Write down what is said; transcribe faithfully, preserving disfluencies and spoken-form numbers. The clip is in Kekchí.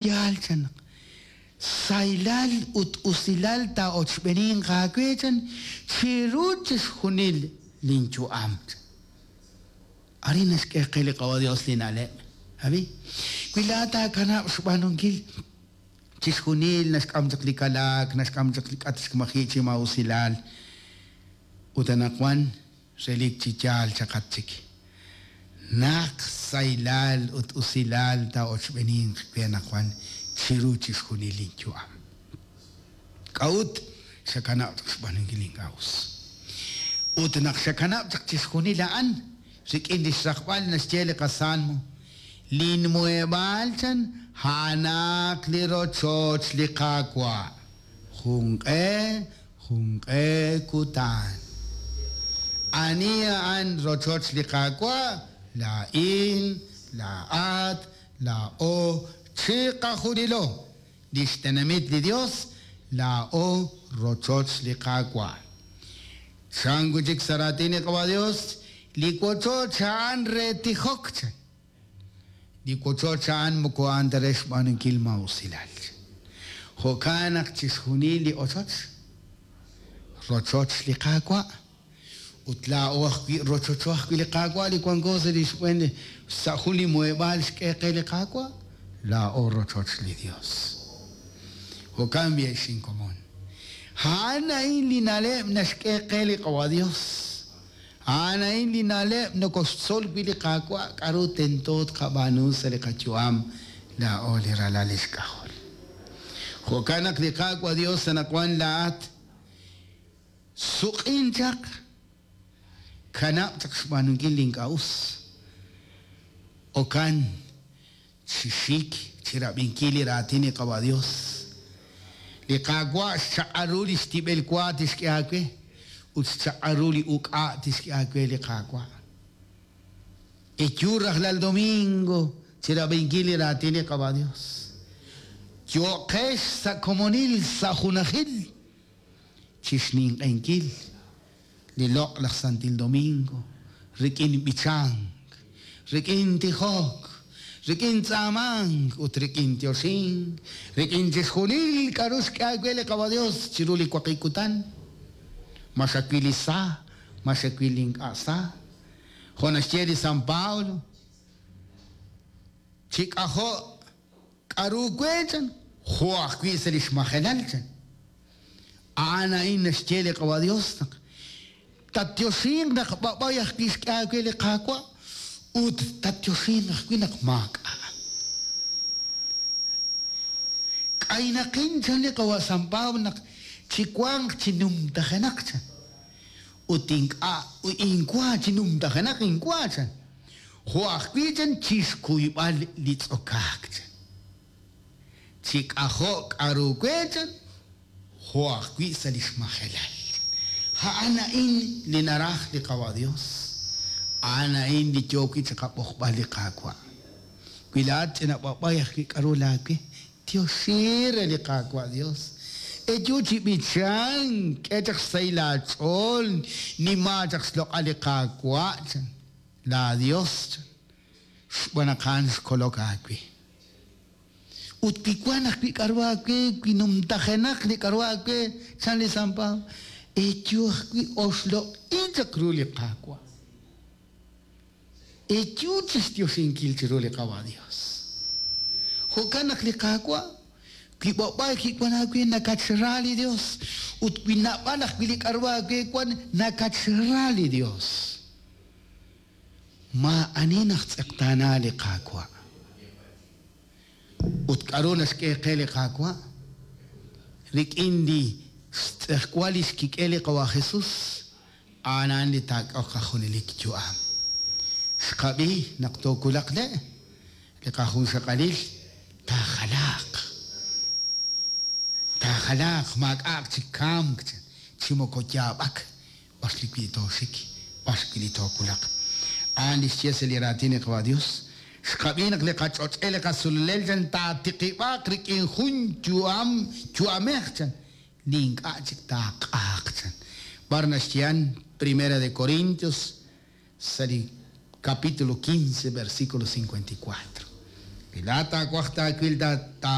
Yaal chan naq sahilal ut usilal taa'ochb'eeninq aawe chan chiru chixjunil linyu'am. Arin naxk'e qe li Qawa' Dios li na'leb'. Abi, wi laa'at taakanab' xb'aanunkil chixjunil naxk'am chaq li kalaak, naxk'am chaq li k'atk maji' chi maa'usilal, ut anaqwan relik chi yaal chaqat chik. Naq sahilal ut usilal taa'ochb'eeninq we anaqwan chiru chixjunil linyu'am. K'a'ut xakanab' chaq xb'aanunkil ink'a' us? Ut naq xakanab' chaq chixjunil a'an, rik'in li xraqb'al naxye li qasalmo, linmuheb'aal chan a'anaq li rochoch li Qaawa'. Junq'e, junq'e kutan. Ani a'an rochoch li Qaawa'? Laa'in, laa'at, laa'o, chiqajunilo. Li xtenamit li Dios, laa'o rochoch li Qaawa'. Chan wi' chik sa' raatin li Qawa' Dios, li wochoch a'an re tijok chan. Li wochoch a'an moko a'an ta re xb'aanunkil maa'usilal. Jo'kan naq chixjunil li ochoch, rochoch li Qaawa'. Ut laa'o ajwi' rochocho ajwi' li Qaawa' li wanko sa' li xb'een sa' jun li muheb'aal xk'e qe li Qaawa', laa'o rochoch li Dios. Jo'kan b'i' xinkomon. A'an a'in li na'leb' naxk'e qe li Qawa' Dios. A'an a'in li na'leb' nokoxtzol wi' li Qaawa' k'a'ru tento tqab'aanu sa' li qayu'am laa'o li ralal li xk'ajol. Jo'kan naq li Qaawa' Dios anaqwan laa'at suq'in chaq, kanab' chaq xb'aanunkil li ink'a' us. Okan chi xik chirab'inkil li raatin li Qawa' Dios. Li Qaawa' xchaq'al ru li xtib'el wa tixk'e aawe ut xchaq'al ru li uk'a' tixk'e aawe li Qaawa'. Eyu rajlal domingo chirab'inkil li raatin li Qawa' Dios. Yo'qex sa' komonil sa' junajil chixninq'enkil li loq' laj Santil Domingo rik'in b'ichank, rik'in tijok, rik'in tz'aamank ut rik'in tioxink, rik'in chixjunil k'a'ru xk'e aawe li Qawa' Dios chiru li waqib' kutan. Ma xawil li sa, ma xawil li ink'a' sa. Jo' naxye li San Pablo, chi k'ajo' k'a'ru we chan, jo' ajwi' sa' li xmajelal chan. A'an a'in naxye li Qawa' Dios naq tatyoxinq naq b'ab'ay ajwi' xk'e aawe li Qaawa' ut tatyoxinq ajwi' naq maak'a'. K'aynaqin chan li Qawa' San Pablo naq chiwanq chi numtajenaq chan. Ut ink'a' inkwa chi numtajenaq inkwa chan. Jo' ajwi' chan chixkuyb'al li tz'okaak chan. Chi k'ajo' k'a'ru we chan, jo' ajwi' sa' li xmajelal. A'an a'in li naraj li Qawa' Dios. A'an a'in li yook wi' chiqab'oqb'al li Qaawa'. Wi laa'at ch'ina b'ab'ay ajwi' k'a'ru laawe, tioxi re li Qaawa' Dios. Eyu chi b'ichank, k'e chaq xsahil aach'ool, nima chaq xloq'al li Qaawa' chan, laa Dios chan, xb'aan naq a'an xkolok aawe. Ut wi wan ajwi' k'a'ru aawe, wi numtajenaq li k'a'ru aawe, chan li San Pablo, eyu ajwi' oxloq'in chaq ru li Qaawa'. Eyu chixtioxinkil chiru li Qawa' Dios. Jo'kan naq li Qaawa', wi b'ab'ay kiwan aawe nakatxra li Dios, ut wi nab'al ajwi' li k'a'ru aawe wan nakatxra li Dios. Maa'ani naq tz'eqtaana li Qaawa'. Ut k'a'ru naxk'e qe li Qaawa'? Rik'in li xtz'ejwal li xkik'e li Qawa' Jesus, a'an a'an li taak'oq qajunelik yu'am. Xqab'i naq tookulaq le', li qajunxaqalil taajalaaq. Taajalaaq maak'a'aq chi kamk chan, chi moko yaab'ak, b'ar li wi' tooxik, b'ar wi' li tookulaq. A'an li xye sa' li raatin li Qawa' Dios. Xqab'i naq li qach'och'el li qasululel chan taatiqib'aaq rik'in jun yu'am yu'amej chan, li ink'a' chik taaq'aaq chan. B'ar naxyehan Primera de Corintios sa' li capítulo quince, versículo cincuenta y cuatro. Wi laa'at taawaj taawil